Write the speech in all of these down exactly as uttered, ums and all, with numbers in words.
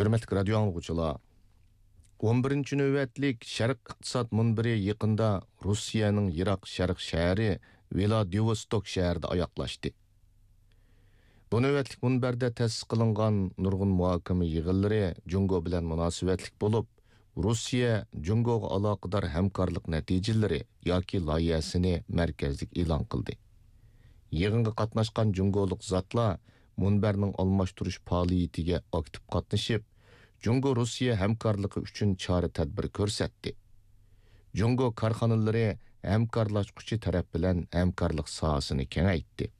ھۆرمەتلىك رادىيو ئاڭلىغۇچىلار، ئون بىرىنچى نۆۋەتلىك شەرق ئىقتىساد مۇنبىرى يېقىندا روسىيەنىڭ يىراق شەرق شەھىرى ۋىلادىۋوستوك شەھىرىدە ئاياغلاشتى. بۇ نۆۋەتلىك مۇنبەردە تەسىس قىلىنغان نۇرغۇن مۇھاكىمە يىغىنلىرى جۇڭگو بىلەن مۇناسىۋەتلىك بولۇپ، روسىيە جۇڭگوغا ئالاقىدار ھەمكارلىق نەتىجىلىرى ياكى لايىھەسىنى مەركەزلىك ئېلان قىلدى. يىغىنغا قاتناشقان جۇڭگولۇق زاتلار مۇنبەرنىڭ ئالماشتۇرۇش پائالىيىتىگە ئاكتىپ قاتنىشىپ، جۇڭگو روسىيە ھەمكارلىقى ئۈچۈن چارە تەدبىر كۆرسەتتى. جۇڭگو كارخانىلىرى ھەمكارلاشقۇچى تەرەپ بىلەن ھەمكارلىق ساھەسىنى كېڭەيتتى.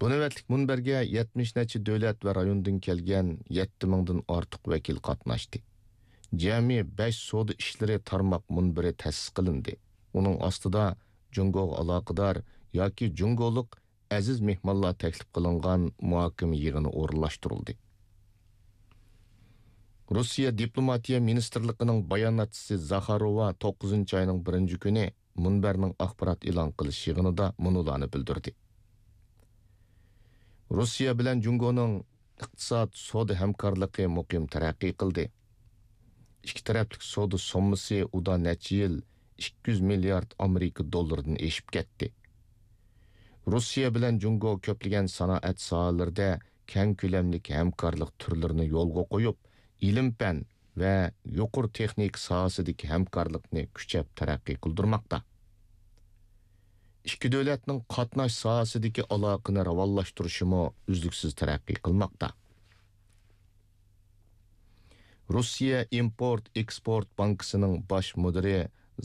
بۇ نۆۋەتلىك مۇنبەرگە يەتمىش نەچچە دۆلەت ۋە رايوندىن كەلگەن يەتتە مىڭدىن ئارتۇق ۋەكىل قاتناشتى. جەمئىي بەش سودا ئىشلىرى تارماق مۇنبىرى تەسىس قىلىندى. ئۇنىڭ ئاستىدا جۇڭگوغا ئالاقىدار ياكى جۇڭگولۇق ئەزىز مېھمانلار تەكلىپ قىلىنغان مۇھاكىمە يىغىنى ئورۇنلاشتۇرۇلدى. روسىيە دىپلوماتىيە مىنىستىرلىقىنىڭ باياناتچىسى زاخاروۋا توققۇزىنچى ئاينىڭ بىرىنچى كۈنى مۇنبەرنىڭ ئاخبارات ئېلان قىلىش يىغىنىدا مۇنۇلارنى بىلدۈردى. روسىيە بىلەن جۇڭگونىڭ ئىقتىساد، سودا ھەمكارلىقى مۇقىم تەرەققىي قىلدى. ئىككى تەرەپلىك سودا سوممىسى ئۇدا نەچچە يىل ئىككى يۈز مىليارد ئامېرىكا دوللىرىدىن ئېشىپ كەتتى. روسىيە بىلەن جۇڭگو كۆپلىگەن سانائەت ساھەلىرىدە كەڭ كۆلەملىك ھەمكارلىق تۈرلىرىنى يولغا قويۇپ، ئىلىم-پەن ۋە يۇقىرى تېخنىكا ساھەسىدىكى ھەمكارلىقنى كۈچەپ تەرەققىي قىلدۇرماقتا. ئىككى دۆلەتنىڭ قاتناش ساھەسىدىكى ئالاقىنى راۋانلاشتۇرۇشىمۇ ئۈزلۈكسىز تەرەققىي قىلماقتا. روسىيە ئىمپورت ئېكسپورت بانكىسىنىڭ باش مۇدىرى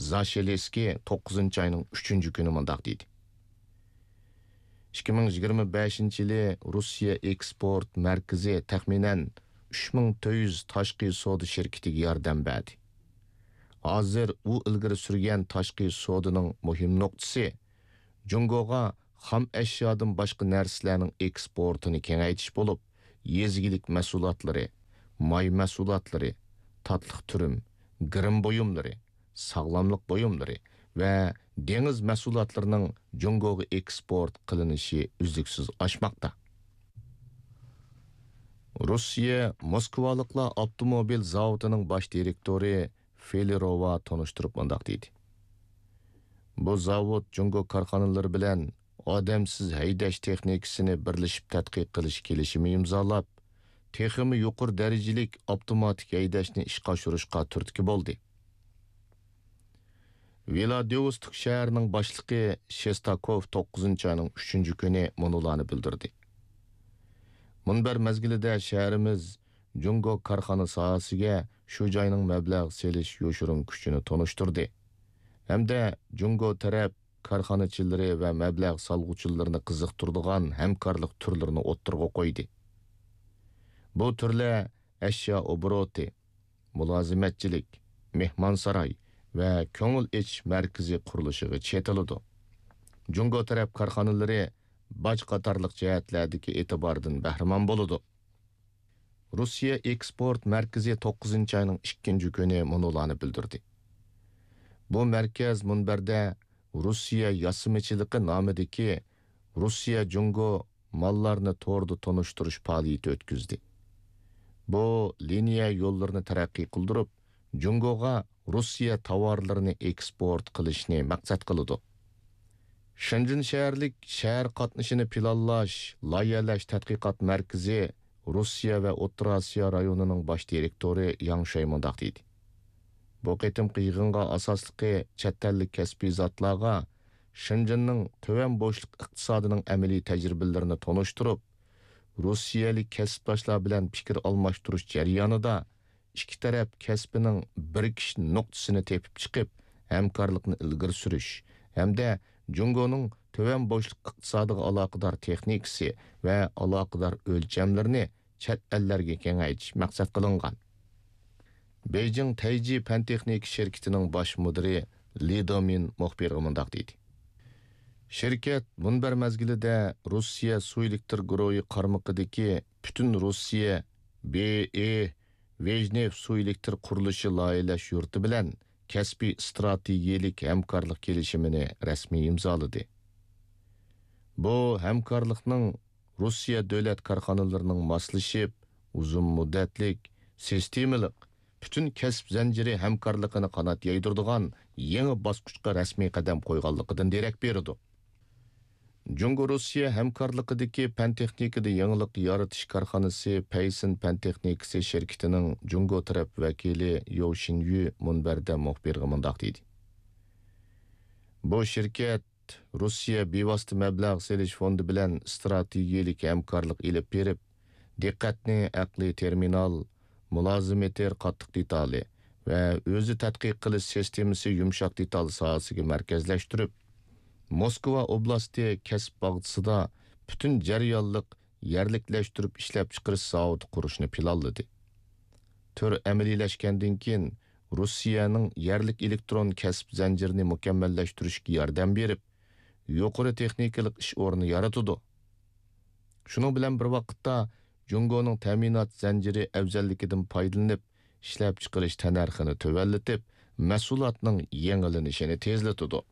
زاشېلېسكىي توققۇزىنچى ئاينىڭ ئۈچىنچى كۈنى مۇنداق دېدى: ئىككى مىڭ يىگىرمە بەشىنچى يىلى روسىيە ئېكسپورت مەركىزى تەخمىنەن ئۈچ مىڭ تۆت يۈز تاشقى سودا شىركىتىگە ياردەم بەردى. ھازىر ئۇ ئىلگىرى سۈرگەن تاشقى سودىنىڭ مۇھىم نۇقتىسى جۇڭگوغا خام ئەشيادىن باشقا نەرسىلەرنىڭ ئېكسپورتىنى كېڭەيتىش بولۇپ، يېزا ئىگىلىك مەھسۇلاتلىرى، ماي مەھسۇلاتلىرى، تاتلىق تۈرۈم، گىرىم بۇيۇملىرى، ساغلاملىق بۇيۇملىرى ۋە دېڭىز مەھسۇلاتلىرىنىڭ جۇڭگوغا ئېكسپورت قىلىنىشى ئۈزلۈكسىز ئاشماقتا. روسىيە موسكۋالىقلار ئاپتوموبىل زاۋۇتىنىڭ باش دىرېكتورى فېلېروۋا تونۇشتۇرۇپ مۇنداق دېدى: بۇ زاۋۇت جۇڭگو كارخانىلىرى بىلەن ئادەمسىز ھەيدەش تېخنىكىسىنى بىرلىشىپ تەتقىق قىلىش كېلىشىمى ئىمزالاپ، تېخىمۇ يۇقىرى دەرىجىلىك ئاپتوماتىك ھەيدەشنى ئىشقا ئاشۇرۇشقا تۈرتكە بولدى. ۋىلادىۋوستوك شەھىرىنىڭ باشلىقى شېستاكوف توققۇزىنچى ئاينىڭ ئۈچىنچى كۈنى مۇنۇلارنى بىلدۈردى: مۇنبەر مەزگىلىدە شەھىرىمىز جۇڭگو كارخانا ساھەسىگە شۇ جاينىڭ مەبلەغ سېلىش يوشۇرۇن كۈچىنى تونۇشتۇردى ھەمدە جۇڭگو تەرەپ كارخانىچىلىرى ۋە مەبلەغ سالغۇچىلىرىنى قىزىقتۇرىدىغان ھەمكارلىق تۈرلىرىنى ئوتتۇرىغا قويدى. بۇ تۈرلەر ئەشيا ئوبوروتى، مۇلازىمەتچىلىك، مېھمانساراي ۋە كۆڭۈل ئېچىش مەركىزى قۇرۇلۇشىغا چېتىلىدۇ. جۇڭگو تەرەپ كارخانىلىرى باج قاتارلىق جەھەتلەردىكى ئېتىباردىن بەھرىمەن بولىدۇ. روسىيە ئېكسپورت مەركىزى توققۇزىنچى ئاينىڭ ئىككىنچى كۈنى مۇنۇلارنى بىلدۈردى: بۇ مەركەز مۇنبەردە روسىيە ياسىمىچىلىقى نامىدىكى روسىيە جۇڭگو ماللارنى توردا تونۇشتۇرۇش پائالىيىتى ئۆتكۈزدى. بۇ لىنىيە يوللىرىنى تەرەققىي قىلدۇرۇپ، جۇڭگوغا روسىيە تاۋارلىرىنى ئېكسپورت قىلىشنى مەقسەت قىلىدۇ. شېنجېن شەھەرلىك شەھەر قاتنىشىنى پىلانلاش، لايىھەلەش تەتقىقات مەركىزى روسىيە ۋە ئوتتۇرا ئاسىيا رايونىنىڭ باش دىرېكتورى ياڭ شۇي مۇنداق دېدى: بۇ قېتىمقى يىغىنغا ئاساسلىقى چەت ئەللىك كەسپىي زاتلارغا شېنجېننىڭ تۆۋەن بوشلۇق ئىقتىسادىنىڭ ئەمەلىي تەجرىبىلىرىنى تونۇشتۇرۇپ، روسىيەلىك كەسىپداشلار بىلەن پىكىر ئالماشتۇرۇش جەريانىدا ئىككى تەرەپ كەسپىنىڭ بىرىكىش نۇقتىسىنى تېپىپ چىقىپ، ھەمكارلىقنى ئىلگىرى سۈرۈش ھەمدە جۇڭگونىڭ تۆۋەن بوشلۇق ئىقتىسادىغا ئالاقىدار تېخنىكىسى ۋە ئالاقىدار ئۆلچەملىرىنى چەت ئەللەرگە كېڭەيتىش مەقسەت قىلىنغان. بېيجىڭ تەيجى پەن تېخنىكا شىركىتىنىڭ باش مۇدىرى لى دېمىن مۇخبىرغا مۇنداق دېدى: شىركەت مۇنبەر مەزگىلىدە روسىيە سۇ ئېلېكتر گۇرۇھى قارمىقىدىكى پۈتۈن روسىيە بې ئې ۋېژنېف سۇ ئېلېكتر قۇرۇلۇشى لايىھەلەش يۇرتى بىلەن كەسپىي ئىستراتېگىيەلىك ھەمكارلىق كېلىشىمىنى رەسمىي ئىمزالىدى. بۇ ھەمكارلىقنىڭ روسىيە دۆلەت كارخانىلىرىنىڭ ماسلىشىپ، ئۇزۇن مۇددەتلىك، سىستېمىلىق، پۈتۈن كەسىپ زەنجىرى ھەمكارلىقىنى قانات يايدۇرىدىغان يېڭى باسقۇچقا رەسمىي قەدەم قويغانلىقىدىن دېرەك بېرىدۇ. جۇڭگو-روسىيە ھەمكارلىقىدىكى پەن-تېخنىكىدا يېڭىلىق يارىتىش كارخانىسى پەيسىن پەن-تېخنىكىسى شىركىتىنىڭ جۇڭگو تەرەپ ۋەكىلى يو شىنيۈ مۇنبەردە مۇخبىرغا مۇنداق دېدى: بۇ شىركەت روسىيە بىۋاسىتە مەبلەغ سېلىش فوندى بىلەن ئىستراتېگىيەلىك ھەمكارلىق ئېلىپ بېرىپ، دىققەتنى ئەقلىي تېرمىنال، مۇلازىمېتىر قاتتىق دېتالى ۋە ئۆزى تەتقىق قىلىش سىستېمىسى يۇمشاق دېتال ساھەسىگە مەركەزلەشتۈرۈپ، موسكۋا ئوبلاستى كەسىپ باغچىسىدا پۈتۈن جەريانلىق يەرلىكلەشتۈرۈپ ئىشلەپچىقىرىش زاۋۇتى قۇرۇشنى پىلانلىدى. تۈر ئەمەلىيلەشكەندىن كېيىن، روسىيەنىڭ يەرلىك ئېلېكترون كەسىپ زەنجىرىنى مۇكەممەللەشتۈرۈشكە ياردەم بېرىپ، يۇقىرى تېخنىكىلىق ئىش ئورنى يارىتىدۇ. شۇنىڭ بىلەن بىر ۋاقىتتا، جۇڭگونىڭ تەمىنات زەنجىرى ئەۋزەللىكىدىن پايدىلىنىپ، ئىشلەپچىقىرىش تەننەرخىنى تۆۋەنلىتىپ، مەھسۇلاتنىڭ يېڭىلىنىشىنى تېزلىتىدۇ.